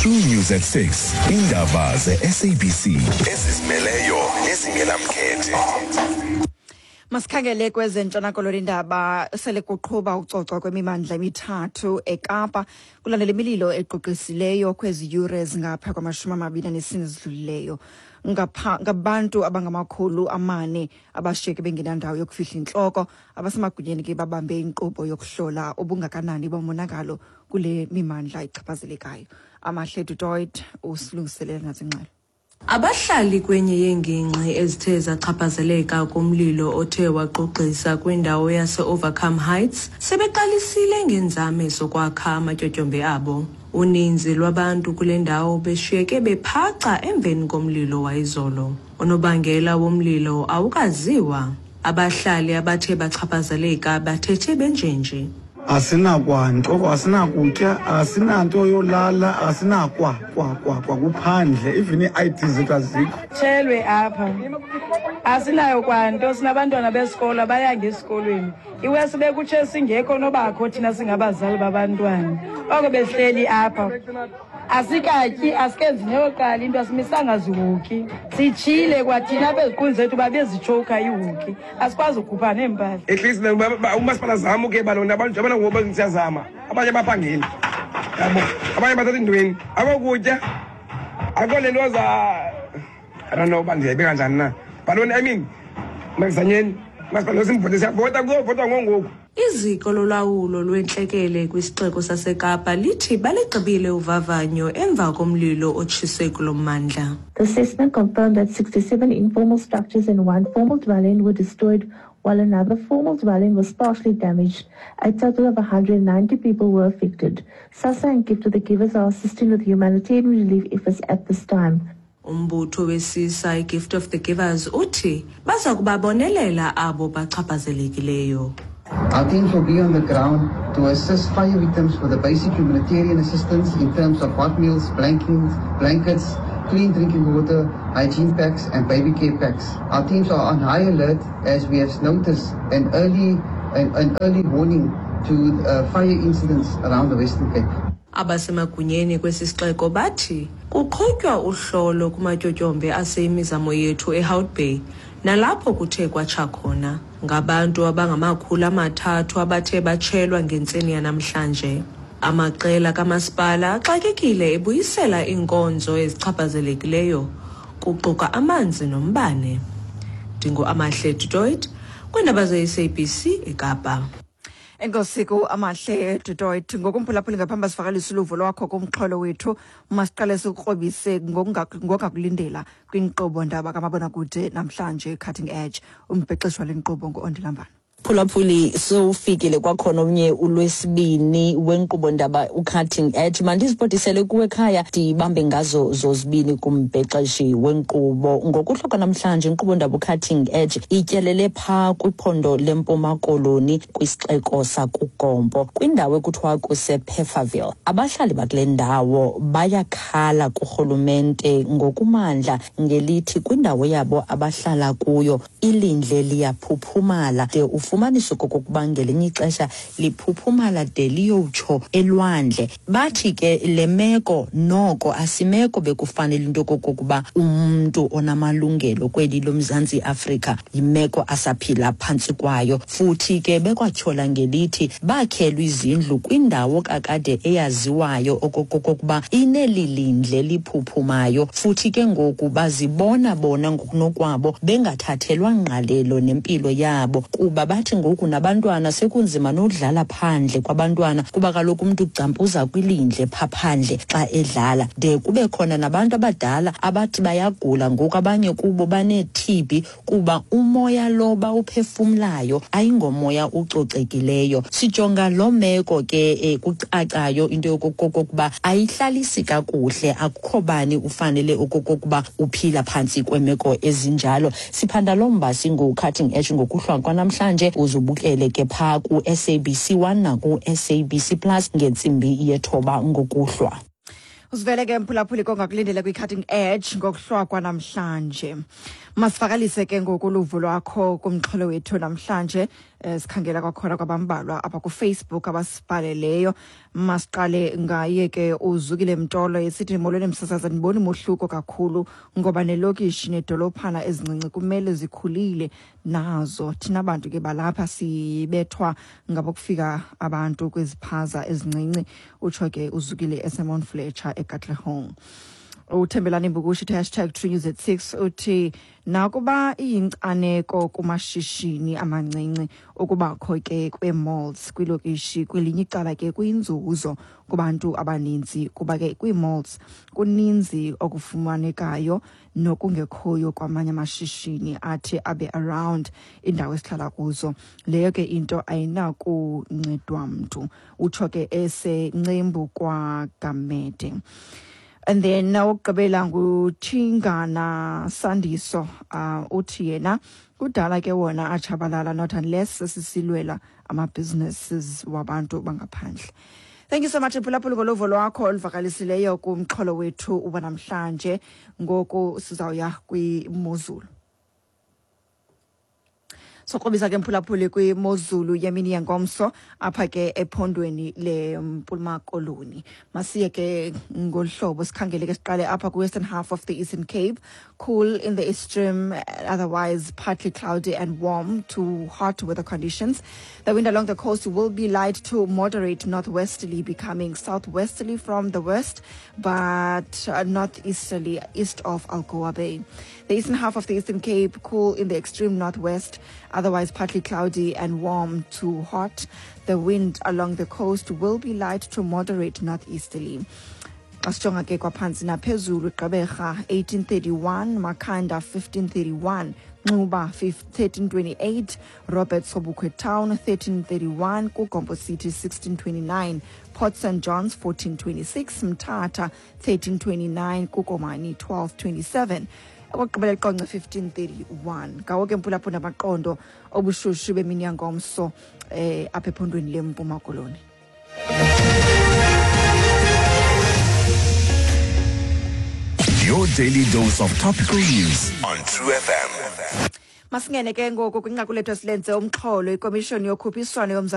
True News at 6. Indaba ze-SABC ezizimeleyo nezingenamkhethe. Masikhangele kwezentshona koloni indaba sele kuqhuba ucocwa kwemimandla emithathu eKapa kulandela imililo equqisileyo kwezi yure zingapha kwamashumi amabini anesine zidlulileyo. Ngabantu abangamakhulu amane abashiyeke bengenandawo yokufihla intloko. Abasemagunyeni ke babambe inkqubo yokuhlola ubungakanani bomonakalo kule mimandla ichaphazelekayo. Amahle Dutoit usilungiselela nazingxelo. Abahlali kwenye yeengingqi ezithe zachaphazeleka kumlilo othe wagqugqisa kwindawo yase-Overcome Heights sebeqalisile ngeenzame zokwakha amatyotyombe abo. Uninzi lwabantu kule ndawo beshiyeke bephaca emveni komlilo wayizolo. Unobangela womlilo awukaziwa. Abahlali abathe bachaphazeleka bathethe benjenje. Asinakwanto, asinakutya, asinanto yolala, asinakwa kwa kwa kwa kuphandle, even ii-ID zethu azikho. Tshelwe apha, asinayo kwanto, sinabantwana besikolo abayanga esikolweni. Iwesi bekutshe singekho nobakho thina singabazali babantwana, oko behleli apha asikatyi, asikenzi neyoqala into, asimisanga zihoki, sitshile kwathina apha eziqwini zethu babezitshoka ihoki, asikwazi ukhupha neempahla. At least umasipala zama uke balona abantu njengoba ngoku siyazama, abanye baphangeli yabo, abanye bathatha intweni, akokutya, akho le nto za, I don't know uba ndiyayibeka kanjani na, but I mean makuzanyeni masipala simvote, siyavota, kuzovotwa ngongoku. Iziko lolawulo lwentlekele kwisixeko saseKapa lithi baligqibile uvavanyo emva komlilo otshise kulo mmandla. The assessment confirmed that 67 informal structures and one formal dwelling were destroyed, while another formal dwelling was partially damaged. A total of 190 people were affected. SASSA and Gift of the Givers are assisting with humanitarian relief efforts at this time. Umbutho wesisa iGift of the Givers uthi baza kubabonelela abo bachaphazelekileyo. Our teams will be on the ground to assist fire victims with the basic humanitarian assistance in terms of hot meals, blankets, clean drinking water, hygiene packs and baby care packs. Our teams are on high alert as we have noticed an early warning to fire incidents around the Western Cape. Abasemagunyeni kwesi sixeko bathi kuqhutywa uhlolo kumatyotyombe aseyimizamo yethu eHout Bay nalapho kuthe kwatsha khona. Ngabantu abangama-300 abathe batshelwa ngentseni yanamhlanje. Amaqela kamasipala axakekile ebuyisela iinkonzo ezichaphazelekileyo kuquka amanzi nombane. Ndingu-Amahle Dutoit kwiindaba ze-SABC eKapa. Enkosi ku Amahle Dutoit. Ngokumphulaphuli ngaphambi sivakalise uluvo lwakho kumxholo wethu, masiqale sikrobise ngokungakulindela kwinkqubo ndaba kamabonakude namhlanje, Cutting Edge. Umbhexeshi wale nkqubo ngu-Ondilambana. Phulaphuli, sowufikile kwakhona omnye ulwesibini wenkqubo ndaba uCutting Edge. Mandizibhodisele kuwe ekhaya, ndibambe ngazo zozibini kumbhexeshi wenkqubo. Ngokuhlwa kwanamhlanje inkqubo ndaba uCutting Edge ityelele phaa kwiphondo leMpuma Koloni kwisixeko sakuGompo, kwindawo ekuthiwa kusePefferville. Abahlali bakule ndawo bayakhala kurhulumente ngokumandla ngelithi kwindawo yabo abahlala kuyo ilindle liyaphuphumala, de ufumanise okokuba ngelinye ixesha liphuphumala de liyotsho elwandle. Bathi ke le meko noko asimeko bekufanele into okokuba umntu onamalungelo kweli loMzantsi Afrika yimeko asaphila phantsi kwayo. Futhi ke bekwatyhola ngelithi bakhelwe izindlu kwindawo kakade eyaziwayo okokuba ineli lindle liphuphumayo, futhi ke ngoku bazibona bona ngokunokwabo bengathathelwa ngqalelo nempilo yabo, kuba bathi ngoku nabantwana sekunzima nodlala phandle kwabantwana, kuba kaloku umntu ugcampuza kwilindle pha phandle xa edlala. De kube khona nabantu abadala abathi bayagula ngoku, abanye kubo banee-TB kuba umoya lo bawuphefumlayo ayingomoya ucocekileyo. Sijonga loo meko ke kucacayo into yokokuba ayihlalisi kakuhle, akukho bani ufanele okokuba uphila phantsi kweemeko ezinjalo. Siphanda loo mba singu-Cutting Edge ngokuhlwa kwanamhlanje. Uzubukele ke phaa ku-SABC 1 naku-SABC Plus ngentsimbi yethoba ngokuhlwa. Usivele ke mphulaphuli kongakulindela kwi-Cutting Edge ngokuhlwa kwanamhlanje. Masivakalise ke ngoku uluvo lwakho kumxholo wethu namhlanje. Sikhangela kwakhona kwabambalwa apha kuFacebook abasibhaleleyo. Masiqale ngaye ke uZukile Mtolo esithi, molweni msasazi, andiboni mohluko kakhulu ngoba nelokishi nedolophana ezincinci kumele zikhulile nazo. Thina bantu ke balapha sibethwa ngabokufika abantu kwiziphaza ezincinci, utsho ke uZukile eseMount Fletcher eKatlehong. Uthembelani Mbukushi uthi hashtag True News at 6, uthi nakuba iyinkcaneko kumashishini amancinci ukubakho ke kwee-malls kwilokishi, kwelinye icala ke kuyinzuzo kubantu abaninzi kuba ke kwii-malls kuninzi okufumanekayo nokungekhoyo kwamanye amashishini athi abe around indawo esihlala kuzo. Leyo ke into ayinakuncedwa mntu, utsho ke eseNcembu kwaGamede. And then owokugqibela nguThingana Sandiso, uthi yena kudala ke wona atshabalala, not unless sisilwela ama-businesses wabantu bangaphandle. Thank you so much, mphulaphuli, ngoluvo lwakho oluvakalisileyo kumxholo wethu wanamhlanje. Ngoku sizawuya kwimozulu. Sokrobisa ke, mphulaphuli, kwimozulu yemini yengomso apha ke ephondweni leMpuma Koloni. Masiye ke ngolu hlobo, sikhangele ke, siqale apha kwi-western half of the Eastern Cape. Cool in the extreme, otherwise partly cloudy and warm to hot weather conditions. The wind along the coast will be light to moderate northwesterly, becoming southwesterly from the west, but northeasterly east of Algoa Bay. The eastern half of the Eastern Cape, cool in the extreme northwest, otherwise partly cloudy and warm to hot. The wind along the coast will be light to moderate northeasterly. Xa sijonga ke kwaphantsi naphezulu, Gqeberha 1831, Makhanda 1531, Nxuba 1328, Robert Sobukwe Town 1331, KuGompo City 1629, Port St Johns 1426, Mthatha 1329, kuKomani 1227, okokugqibela iQonce 1531. Ngawo ke, mphulaphuli, amaqondo obushushu bemini yangomso apha ephondweni leMpuma Koloni. Your daily dose of topical news on True FM. Masingene ke ngoku kwinqaku lethu esilenze umxholo, ikomishoni yokhuphiswano yomzantsi.